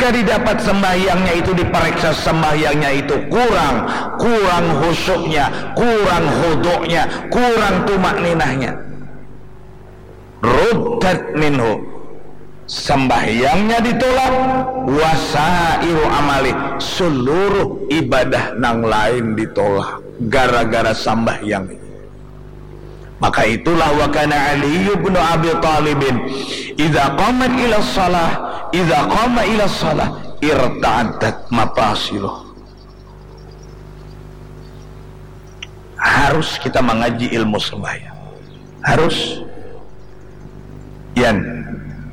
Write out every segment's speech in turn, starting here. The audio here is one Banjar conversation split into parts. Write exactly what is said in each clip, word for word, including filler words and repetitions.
Jadi dapat sembahyangnya itu diperiksa, sembahyangnya itu kurang, kurang khusyuknya, kurang khudu'nya, kurang tumak ninahnya. Ruddat minhu, sembahyangnya ditolak, wasairu amali, seluruh ibadah nang lain ditolak gara-gara sambahyang. Maka itulah, wa kana Ali bin Abi Thalibin idza qamat ila shalah, idza qama ila shalah irtaddat mafasiluh. Harus kita mengaji ilmu sembahyang. Harus. Yan.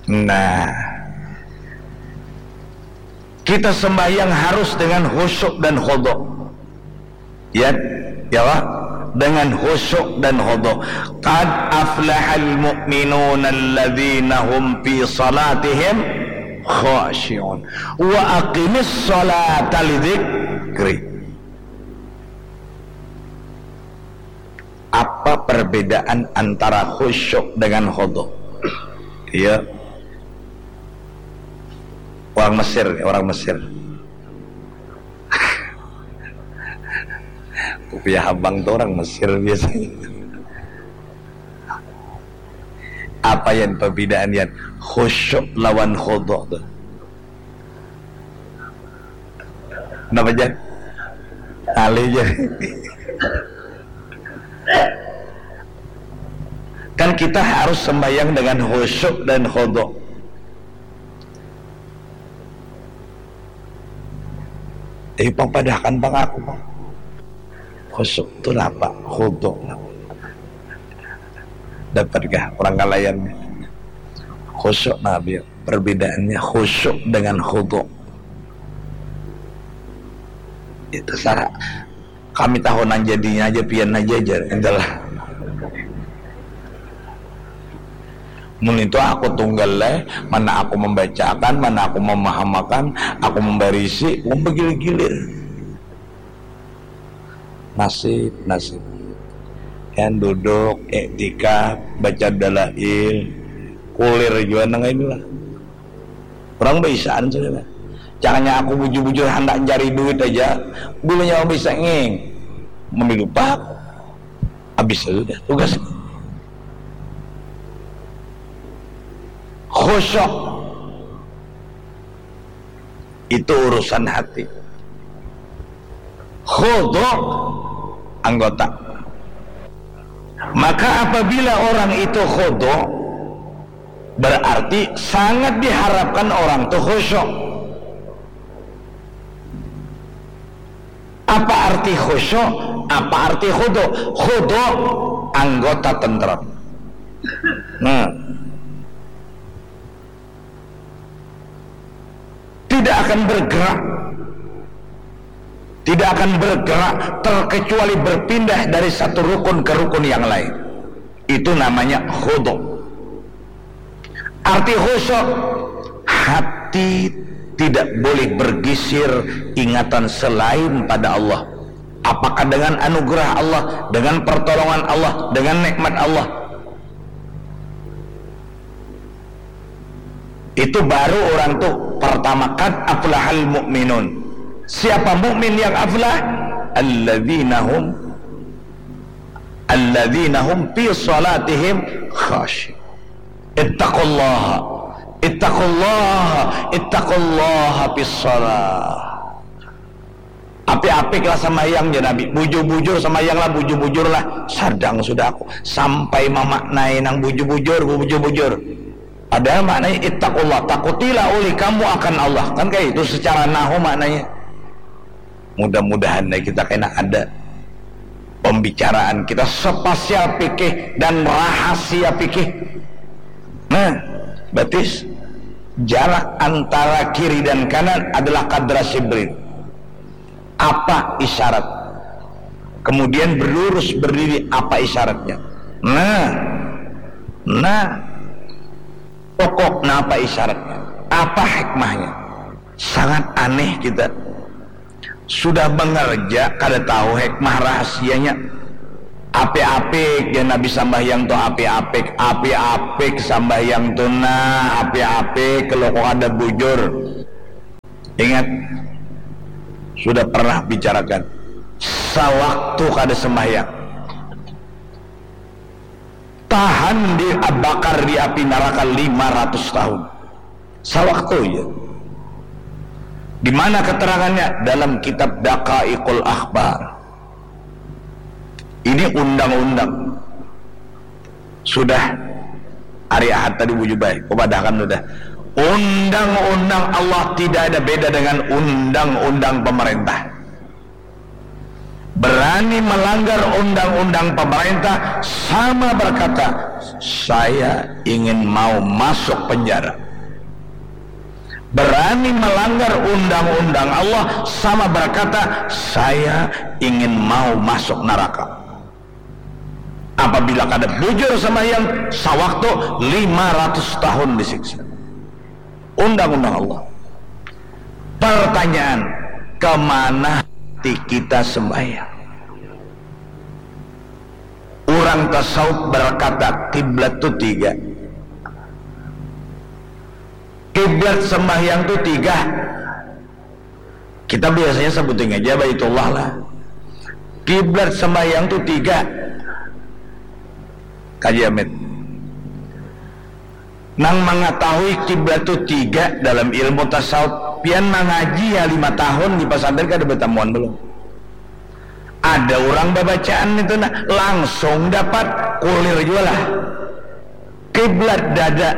Nah. Kita sembahyang harus dengan khusyuk dan khudu. Ya, ya Allah, dengan khusyuk dan khudu. Qad aflahal mu'minuna alladzina hum fi salatihim khashi'un. Wa aqimis salata lidzikri. Apa perbedaan antara khusyuk dengan khudu? Iya. Orang Mesir, orang Mesir. Kupiah habang tu orang Mesir biasanya. Apa Yan perbedaan Yan khusyuk lawan khudu tu? Kenapa Jan? Alih Jan. Kan kita harus sembahyang dengan khusyuk dan khudu. Eh, pang padahkan pang aku pang. Khusyuk tu napa? Khudu. Dapatkah orang kalayan? Khusyuk nabi. Perbedaannya khusyuk dengan khudu. Itu salah. Kami tahu nang jadinya aja pian aja jar. Itulah. Mun itu aku tunggal lah, mana aku membacakan, mana aku memahamakan, aku membarisi, aku bergilir-gilir. Nasib, nasib. Yang duduk, iktikaf, baca dalail, kulir jua nang inilah. Orang baisaan sudah lah. Jangannya aku bujur-bujur handak cari duit aja, bilanya orang bisa ngeng. Memilu pak, habis sudah tugas. Khusyuk. Itu urusan hati. Khudu anggota. Maka apabila orang itu khudu, berarti sangat diharapkan orang itu khusyuk. Apa arti khusyuk? Apa arti khudu? Khudu anggota tentrem. Nah, tidak akan bergerak, tidak akan bergerak terkecuali berpindah dari satu rukun ke rukun yang lain. Itu namanya khudu. Arti khusyuk, hati tidak boleh bergisir ingatan selain pada Allah. Apakah dengan anugerah Allah, dengan pertolongan Allah, dengan nikmat Allah? Itu baru orang tu pertama, qad aflahal mu'minun. Siapa mukmin yang aflah? Alladzina hum, alladzina hum fi salatihim khashi. Ittaqullaha, ittaqullaha, ittaqullaha fis salah. Apik-apik lah sambayang, jar Nabi. Bujur-bujur sambayang lah, bujur-bujur lah. Sadang sudah aku sampai mamaknai nang bujur-bujur, bujur-bujur. Padahal maknanya ittaqullah, takutilah oleh kamu akan Allah. Kan kayak itu secara nahu maknanya. Mudah-mudahan nih kita kena ada pembicaraan kita spasial fikih dan rahasia fikih. Nah, batis jarak antara kiri dan kanan adalah kadra sibrin. Apa isyarat? Kemudian berlurus berdiri, apa isyaratnya? Nah, nah, pokok, nah, apa isyaratnya? Apa hikmahnya? Sangat aneh kita. Sudah mengerja, kada tahu hikmah rahasianya. Apik-apik, ya Nabi sambahyang tu apik-apik, apik-apik sambahyang tu nah, apik-apik, kalau kok ada bujur. Ingat, sudah pernah bicarakan, sawaktu kada sembahyang, tahan di, bakar di api neraka lima ratus tahun. Sawaktu aja. Di mana keterangannya? Dalam kitab Daqaiqul Akhbar. Ini undang-undang. Sudah hari Ahad tadi bujubai, kupadahkan sudah. Undang-undang Allah tidak ada beda dengan undang-undang pemerintah. Berani melanggar undang-undang pemerintah sama berkata, "Saya ingin mau masuk penjara." Berani melanggar undang-undang Allah sama berkata, "Saya ingin mau masuk neraka." Apabila kada bujur sembahyang, sawaktu lima ratus tahun disiksa. Undang-undang Allah. Pertanyaan, kemana hati kita sembahyang? Orang tasawuf berkata, kiblat tu tiga. Kiblat sembahyang tu tiga. Kita biasanya sebutin aja Baitullah lah. Kiblat sembahyang tu tiga. Kaji Amit. Nang mengetahui kiblat tu tiga dalam ilmu tasawuf, pian mangaji ya lima tahun di pesantren kada betamuan belum? Ada orang babacaan itu nah, langsung dapat, kulir jua lah. Kiblat dada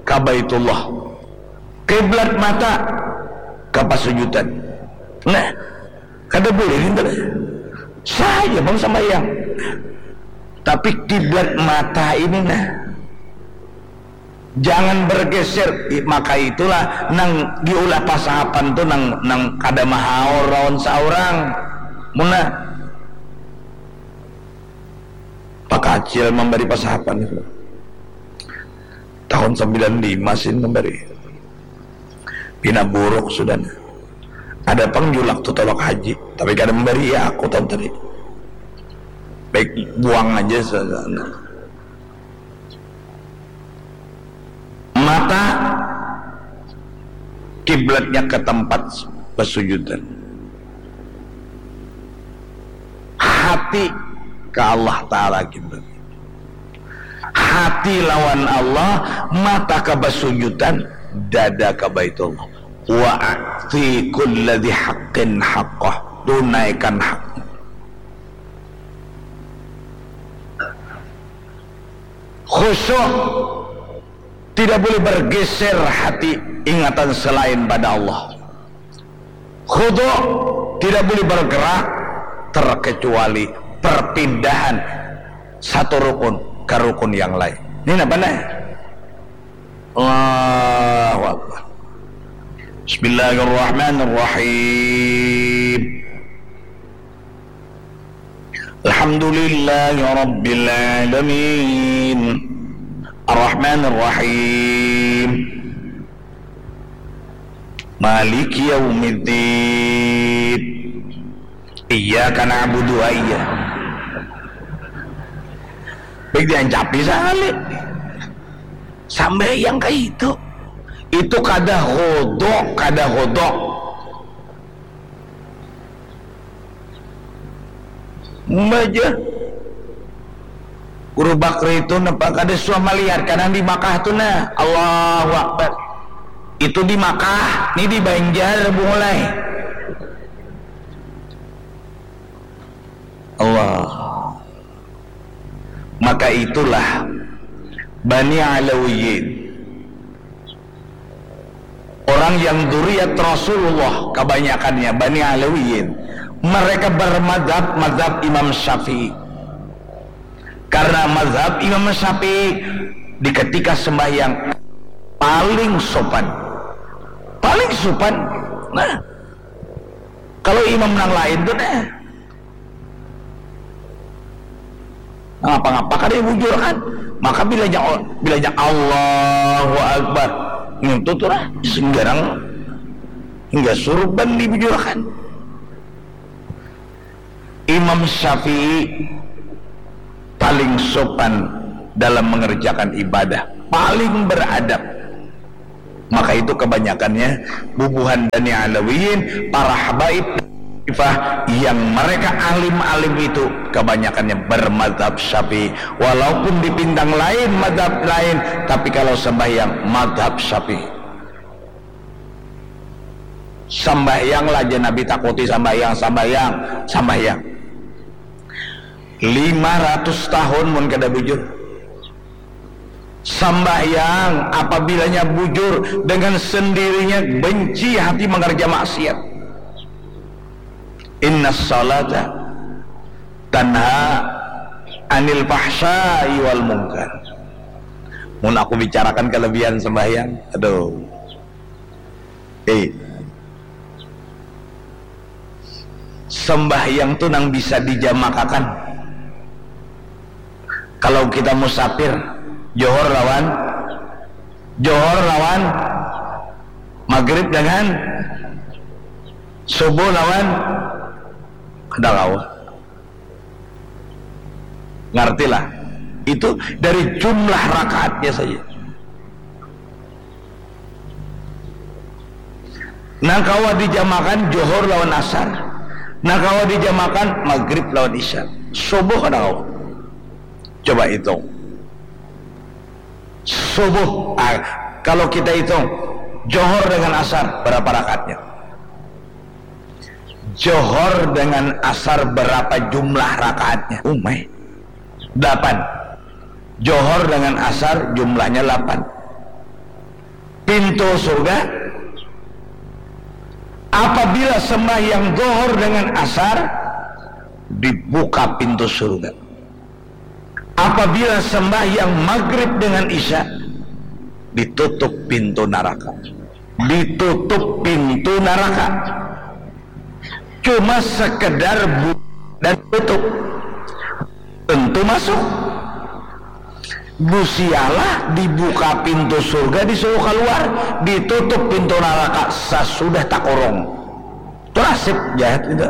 ka Baitullah. Kiblat mata ka pasujudan. Nah, kada boleh nintu. Sah aja pang sambayang. Tapi kiblat mata ini nah, jangan bergeser. I-, maka itulah nang diulah pasahapan tu nang, nang kada mahaur lawan saurang. Muna Pak Kacil memberi pasahapan itu. Tahun sembilan lima sin memberi. Pina buruk sudah. Ada pang julak tu tolak haji, tapi kada memberi ya aku tahun tadi. Baik, buang aja sa-, sa-, mata kiblatnya ke tempat besujudan. Hati ke Allah Ta'ala kiblat. Hati lawan Allah, mata ke besujudan, dada ke Baitullah. Wa a'ti kulladzi haqqin haqqah. Tunaikan haknya. Khusyuk, tidak boleh bergeser hati ingatan selain pada Allah. Khudu, tidak boleh bergerak terkecuali perpindahan satu rukun ke rukun yang lain. Ini apa nih? Allahu Akbar. Bismillahirrahmanirrahim. Alhamdulillahirabbil alamin. Arrahmanirrahim. Maliki yaumiddin. Iyyaka na'budu wa iya. Baik diancapi sakali. Sambayang kaya itu. Itu kada khudu, kada khudu. Baja. Guru Bakri itu napa kada suah malihat ka nang di Makkah tu nah. Allahu Akbar. Itu di Makkah, ni di Banjar bungulai. Allah. Maka itulah Bani Alawiyin. Orang yang duriat Rasulullah, kebanyakannya Bani Alawiyin, mereka bermadhab, madhab Imam Syafi'i. Karena madhab Imam Syafi'i di ketika sembahyang paling sopan. Paling sopan. Nah, kalau imam nang lain tu nah, ngapa-ngapa kada bujur kan. Maka bilanya, bilanya Allahu Akbar, ngintu tu lah, singgarang hingga surban dibujurkan. Imam Syafi'i paling sopan dalam mengerjakan ibadah, paling beradab. Maka itu kebanyakannya bubuhan Bani Alawiyin, para habaib Taifah yang mereka alim-alim itu kebanyakannya bermadhab Syafi'i. Walaupun di pintang lain madhab lain, tapi kalau sembahyang madhab Syafi'i. Sambahyang lah aja Nabi takuti, sambahyang, sambahyang, sambahyang. Lima ratus tahun mun kada bujur. Sambahyang apabilanya bujur, dengan sendirinya benci hati mengerja maksiat. Inna salata tanha anil fahsya'i wal munkar. Mun aku bicarakan kelebihan sembahyang, aduh. Eh. Sembahyang tu nang bisa dijamakakan. Kalau kita musafir, Johor lawan Johor lawan Maghrib dengan Subuh lawan kada kawa. Ngartilah. Itu dari jumlah rakaatnya saja. Nang kawa dijamakan Johor lawan Asar, nang kawa dijamakan Maghrib lawan Isya, Subuh kada kawa. Coba hitung. Subuh, ah, kalau kita hitung Johor dengan Asar, berapa rakaatnya? Johor dengan Asar berapa jumlah rakaatnya? Umai. Delapan. Johor dengan Asar jumlahnya delapan. Pintu surga, apabila sembahyang Johor dengan Asar, dibuka pintu surga. Apabila sembahyang Maghrib dengan Isya, ditutup pintu naraka. Ditutup pintu naraka. Cuma sekedar bu-, dan tutup. Tentu masuk. Gusti Allah dibuka pintu surga, disuruh keluar, ditutup pintu naraka sesudah takurung. Itu nasib jahat itu.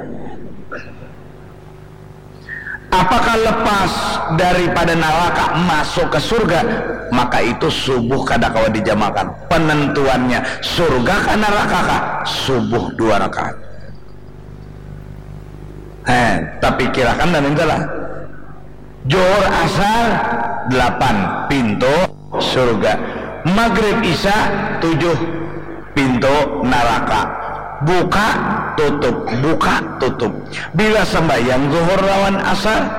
Apakah lepas daripada naraka masuk ke surga? Maka itu subuh kada kawa dijamakan. Penentuannya surga kah naraka kah? Subuh dua rakaat. Eh, tapi kirakan dan itulah. Johor Asar delapan pintu surga. Maghrib Isya tujuh pintu naraka. Buka, tutup, buka, tutup. Bila sembahyang Zuhur lawan Asar,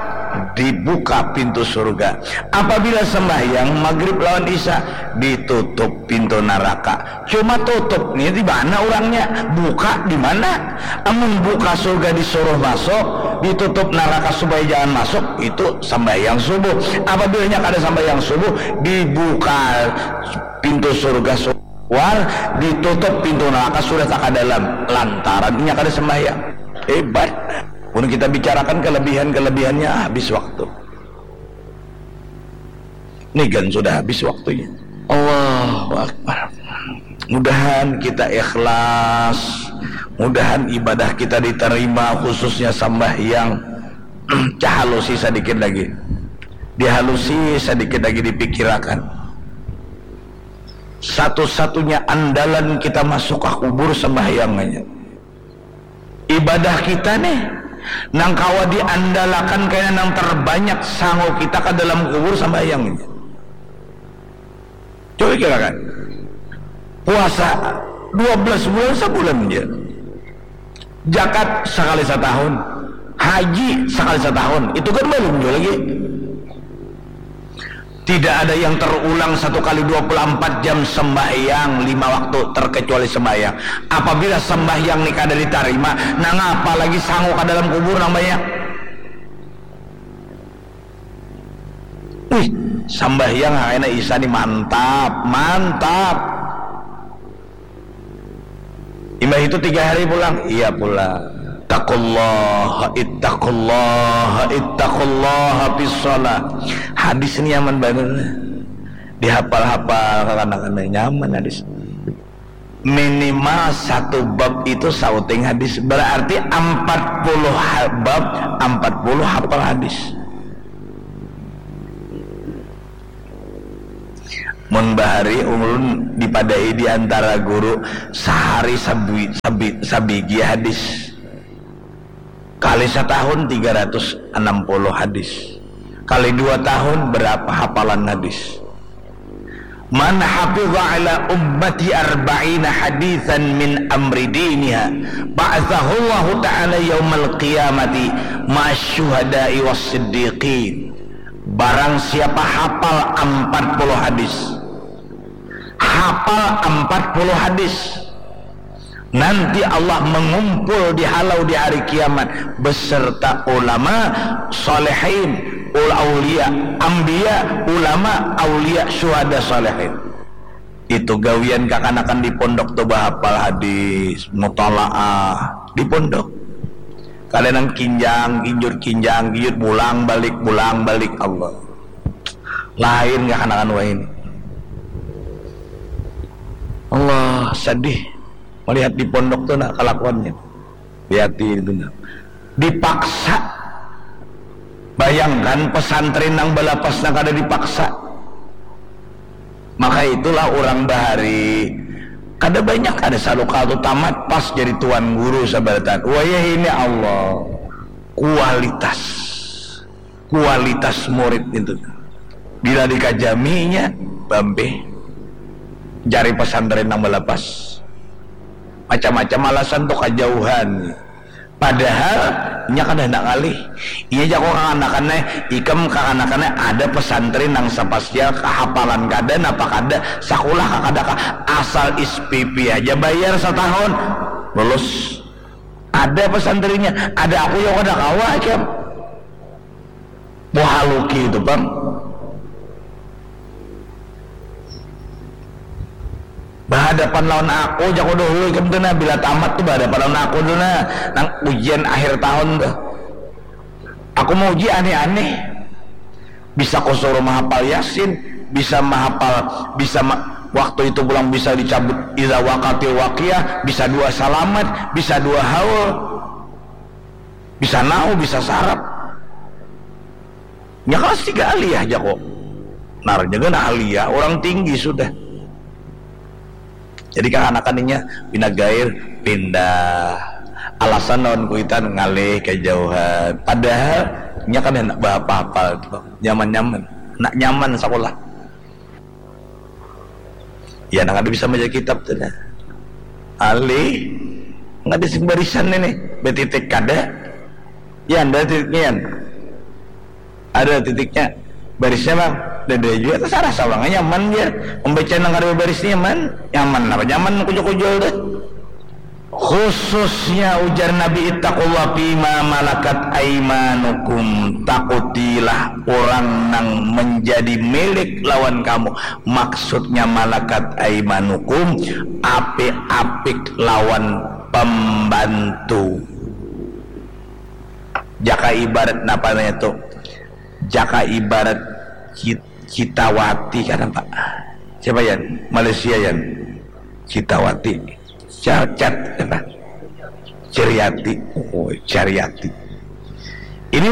dibuka pintu surga. Apabila sembahyang Maghrib lawan Isya, ditutup pintu naraka. Cuma tutup ni di mana urangnya, buka di mana? Amun buka surga disuruh masuk, ditutup naraka supaya jangan masuk, itu sambahyang subuh. Apabila nya kada sambahyang subuh, dibuka pintu surga suar, ditutup pintu naraka sudah taka dalam, lantaran inya kada sambahyang. Hebat. Mun kita bicarakan kelebihan-kelebihannya, habis waktu. Ni gan sudah habis waktunya. Allahu Akbar. Mudahan kita ikhlas, mudahan ibadah kita diterima, khususnya sambahyang. Cahalusi sadikit lagi. Dihalusi sadikit lagi, dipikirakan. Satu-satunya andalan kita masuk ka kubur sambahyang aja. Ibadah kita nih, nang kawa diandalakan kaya nang terbanyak sangu kita ka dalam kubur sambahyang. Coba kirakan. Puasa dua belas bulan, sabulan aja. Jakat sakali satahun. Haji sakali satahun. Itu kan balum jua lagi. Tidak ada yang terulang satu kali dua puluh empat jam sembahyang lima waktu terkecuali sembahyang. Apabila sembahyang ni kada ditarima, nang apa lagi sangu ka dalam kubur nang banyak. Wih, sambahyang kena Isa ni mantap, mantap. Imbah itu tiga hari pulang, iya pulang. Ittaqullaha, ittaqullaha, ittaqullaha fis shalah. Hadis ni nyaman banar. Dihafal-hafal kakanakan, nyaman hadis. Minimal satu bab itu sauting hadis. Berarti empat puluh ha-, bab, empat puluh hafal hadis. Mun bahari ulun dipadai di antara guru, sahari sabi, sabi, sabigi hadis. Kali satahun tiga ratus enam puluh hadis. Kali dua tahun berapa hafalan hadis? Man hafidha ala ummati arba'ina hadisan min amri diniha ba'athahullahu ta'ala yaumal qiyamati ma'asyuhada'i was siddiqin. Barang siapa hafal empat puluh hadis, hafal empat puluh hadis, nanti Allah mengumpul di halau di hari kiamat beserta ulama salihin, ul aulia, ambia, ulama, aulia, syuhada, salihin. Itu gawian kakanakan di pondok tu, bahapal hadis, mutalaah di pondok. Kada nang kinjang kinjur, kinjang kinjur, bulang balik, bulang balik. Allah, lain kakanakan wahini. Allah, sedih melihat di pondok tu, nah, kelakuannya. Lihat di itu, nah. Dipaksa. Bayangkan pesantren nang balapas nang kada dipaksa. Maka itulah orang bahari kada banyak ada salukal tu tamat pas jadi tuan guru sabaratan. Wayah ini Allah, kualitas, kualitas murid itu. Bila dikajaminya, bambe, cari pesantren nang balapas. Macam-macam alasan tu, kajauhan. Padahal inya kada handak ngalih. Inya jako kakanakan ai, ikam kakanakan ai, ada pesantren nang sapasial, kahapalan kada, napa kada, sakulah ka kada ka, asal S P P aja bayar satahun, lulus. Ada pesantrennya, ada aku yang kada kawa ikam. Muhaluki itu pang. Bahadapan lawan aku, jaku dahulu ikam tu nah, bila tamat tu bahadapan lawan aku tu nah, nang ujian akhir tahun tu. Aku mauji aneh-aneh. Bisa kusuruh mahapal Yasin, bisa mahapal, bisa ma-, waktu itu pulang bisa dicabut idza waqatil waqiah, bisa dua salamat, bisa dua haul. Bisa nahu, bisa sarap. Nya kelas tiga aliyah, jaku. Nar nya gana aliyah, orang tinggi sudah. Jadi kakanakan inya pina gair, pindah. Alasan lawan kuitan ngalih kajauhan. Padahal nya kada handak bahapal-hapal tu, nyaman-nyaman. Handak nyaman sakulah. Ya, nang kada bisa baca kitab tu nah. Alih, nang kada sing barisan ini, batitik kada. Yan, ada titiknya, Yan. Ada titiknya. Barisnya, Bang. Dada jua, tasarah saurang, nyaman ja. Membaca nang kada babaris nyaman. Nyaman apa nyaman kujul-kujul tu. Khususnya ujar Nabi, "Ittaqullah fima malakat aimanukum." Takutilah orang nang menjadi milik lawan kamu. Maksudnya malakat aimanukum, apik-apik lawan pembantu. Jaka ibarat napa namanya tu? Jaka ibarat kit-, kitawati kan apa? Siapa, Yan? Malaysia, Yan? Kitawati. Cacat, apa? Ceriati. Oh, cariati. Ini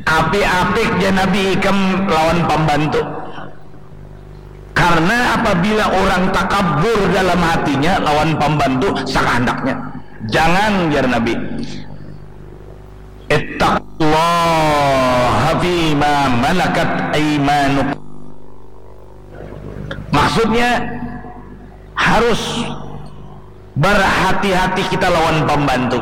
apik-apik ja Nabi ikam lawan pambantu. Karena apabila orang takabur dalam hatinya lawan pambantu sakahandaknya. Jangan, jar Nabi. Ittaqullaha fima malakat aimanukum. Maksudnya, harus berhati-hati kita lawan pambantu.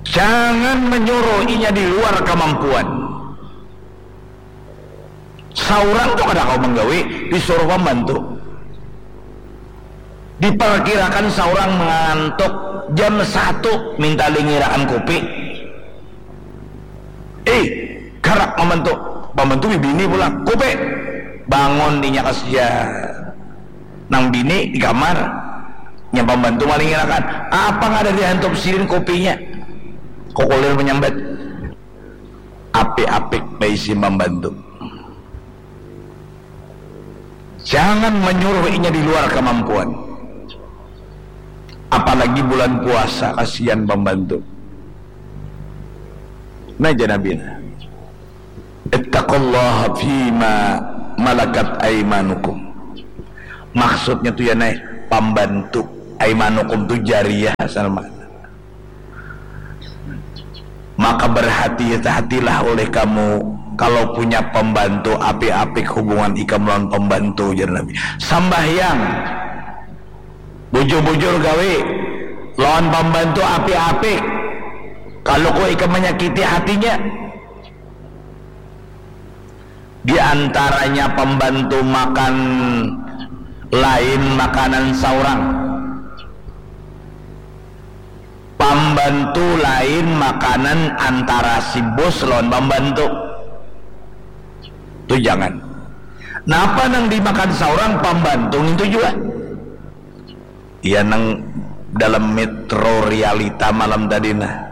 Jangan menyuruh inya di luar kemampuan. Saurang tu kada kawa menggawi, disuruh pambantu. Diperkirakan saurang mengantuk, jam satu minta lingirakan kupi. Eh, karak pambantu. Pambantu bibini pulang. Kupi. Bangun inya kasian. Nang bini di kamar. Nya pambantu malingirakan. Apa nggak ada dihantup sidin kupinya? Kukulir menyambat. Apik-apik baisi pambantu. Jangan menyuruh inya di luar kemampuan. Apalagi bulan puasa, kasihan pambantu. Nah, jar Nabi, "Ittaqullaha fima malakat aimanukum." Maksudnya tu ya, nai, pambantu. Aimanukum tu jariah asal makna. Maka berhati-hatilah oleh kamu kalau punya pembantu, apik-apik hubungan ikam lawan pembantu, jar Nabi. Sambahyang, bujur-bujur gawi, lawan pembantu apik-apik. Kalau kau ikam menyakiti hatinya, di antaranya pembantu makan lain makanan saurang. Pambantu lain makanan antara si bos lawan pambantu. Tu jangan. Napa nang dimakan saurang pambantu ngintu jua. Ya, nang dalam metro realita malam tadi nah.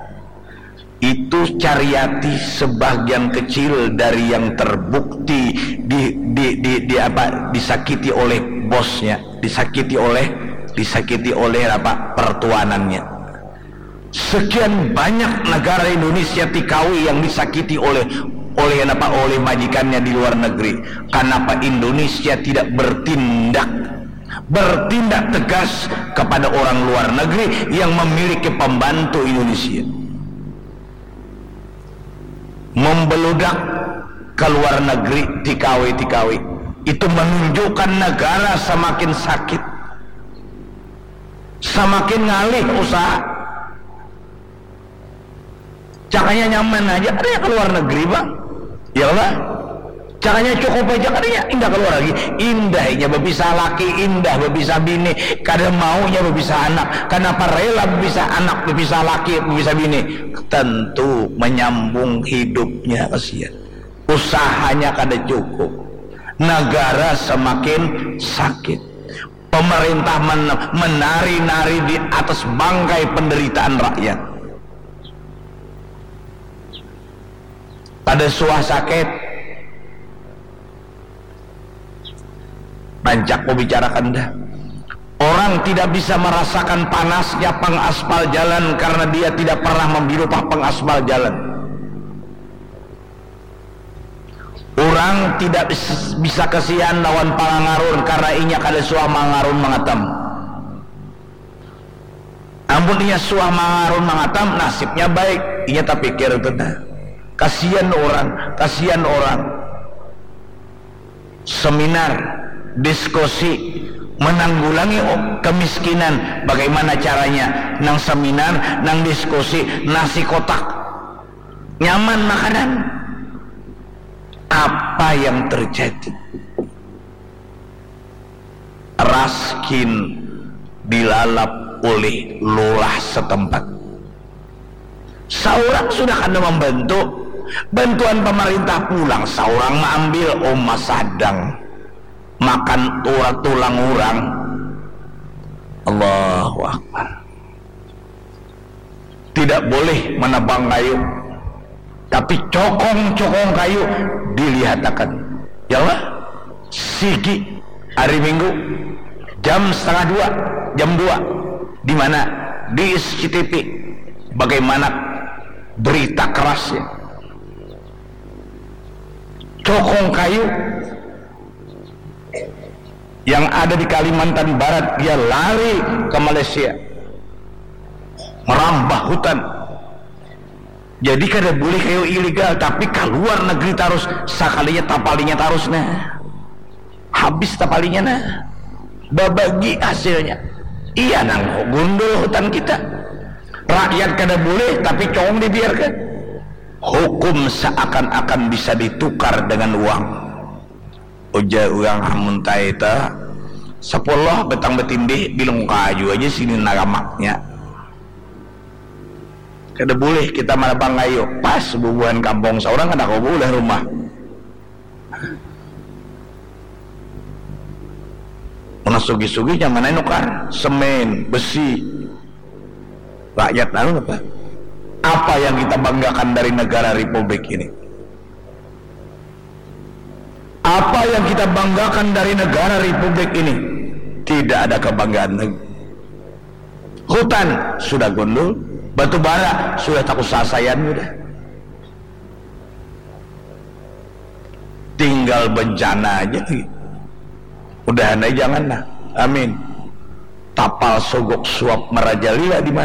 Itu cariati sebagian kecil dari yang terbukti di, di, di, di apa, disakiti oleh bosnya, disakiti oleh, disakiti oleh apa, pertuanannya. Sekian banyak negara Indonesia tikawi yang disakiti oleh, oleh apa, oleh majikannya di luar negeri. Kenapa Indonesia tidak bertindak, bertindak tegas kepada orang luar negeri yang memiliki pembantu Indonesia? Membeludak ke luar negeri tikawi-tikawi itu menunjukkan negara semakin sakit, semakin ngalih usaha. Cakanya nyaman aja, ada yang ke luar negeri, Bang. Ya, Bang? Cakanya cukup aja, kadanya indah keluar lagi. Indahnya bepisah laki, indah bepisah bini, kada maunya bepisah anak. Kenapa rela bepisah anak, bepisah laki, bepisah bini? Tentu menyambung hidupnya, kasihan. Usahanya kada cukup. Negara semakin sakit. Pemerintah men-, menari-nari di atas bangkai penderitaan rakyat. Pada suah sakit, rancak ku bicarakan dah. Orang tidak bisa merasakan panasnya pengaspal jalan karena dia tidak pernah memilupah pengaspal jalan. Urang tidak bis-, bisa kasihan lawan pangangarun karena inya kada suah mangarun mangatam. Amun inya suah mangarun mangatam, nasibnya baik. Inya tapikir itu nah. Kasihan urang, kasihan urang. Seminar, diskusi, menanggulangi o-, kemiskinan. Bagaimana caranya? Nang seminar, nang diskusi, nasi kotak. Nyaman makanan. Apa yang terjadi? Raskin dilalap oleh lurah setempat. Saurang sudah kada membantu, bantuan pemerintah pulang, saurang maambil, uma sadang makan tura-, tulang urang. Allahu Akbar. Tidak boleh menebang kayu, tapi cokong-cokong kayu dilihatakan. Ya Allah, sigi hari Minggu jam setengah dua, jam dua, di mana? Di S C T V. Bagaimana berita kerasnya? Cokong kayu yang ada di Kalimantan Barat, dia lari ke Malaysia, merambah hutan. Jadi kada boleh kayu ilegal, tapi keluar negeri tarus, sakalinya tapalinya tarus nah. Habis tapalinya nah. Babagi hasilnya. Iya nang gundul hutan kita. Rakyat kada boleh, tapi cong dibiarkan. Hukum seakan-akan bisa ditukar dengan uang. Ujar urang amun tai ta, sepuluh batang batindih bilung kaju aja sini naramaknya. Kada boleh kita marabang kayu, pas bubuhan kampung saurang kada kawa baulah rumah. Mana sugih-sugih nyaman ai nukar semen, besi. Rakyat anu apa? Apa yang kita banggakan dari negara republik ini? Apa yang kita banggakan dari negara republik ini? Tidak ada kebanggaan lagi. Hutan sudah gundul, batu bara sudah takusasaian sudah. Tinggal bencana aja lagi. Mudahan aja jangan lah. Amin. Tapal sogok suap marajalela di